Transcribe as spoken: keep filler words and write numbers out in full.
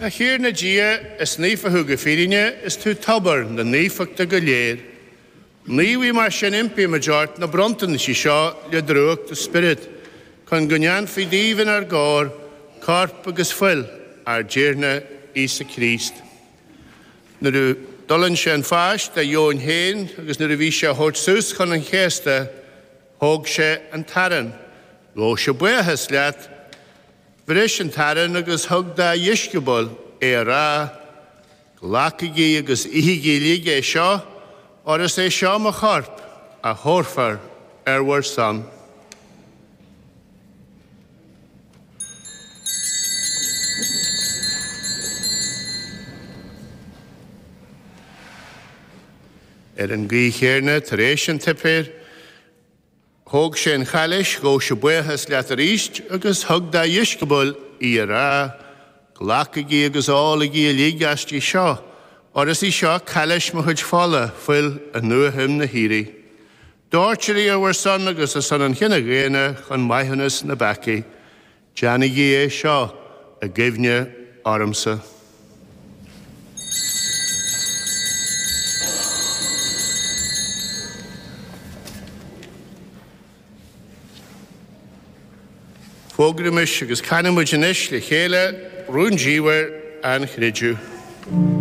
A Thiarna Dia, is naofa thú go fírinne, is tú tobar na naofachta go léir. Naomhaigh mar sin impímid ort na bronntanais seo le drúcht do Spioraid, chun go ndéanfaí díobh inár gcomhair, corp agus fuil ár dTiarna Íosa Críost. Nuair a d'fhulaing sé an pháis dá dheoin féin agus nuair a bhí sé á thabhairt suas chun an chéasta, thóg sé an t-arán, ghabh sé buíochas leat, Bhris an t-arán agus thug dá dheisceabail é á rá, Glacaigí agus ithigí uilig é seo, óir is é seo mo chorp a thabharfar ar bhur son. Ar an gcaoi chéanna, tar éis an tsuipéir, thóg sé an chailis, ghabh sé buíochas leat arís agus thug dá dheisceabail í á rá, Glacaigí agus ólaigí uilig aisti seo, óir is í seo cailis mo chuid fola, fuil an nuashuim na hIarraidh. Doirtear í ar bhur son agus ar son an chine dhaonna chun maithiúnas na bpeacaí. Déanaigí é seo i gcuimhne ormsa. Fógraímis agus canaimid anois le chéile rúndiamhair an chreidimh.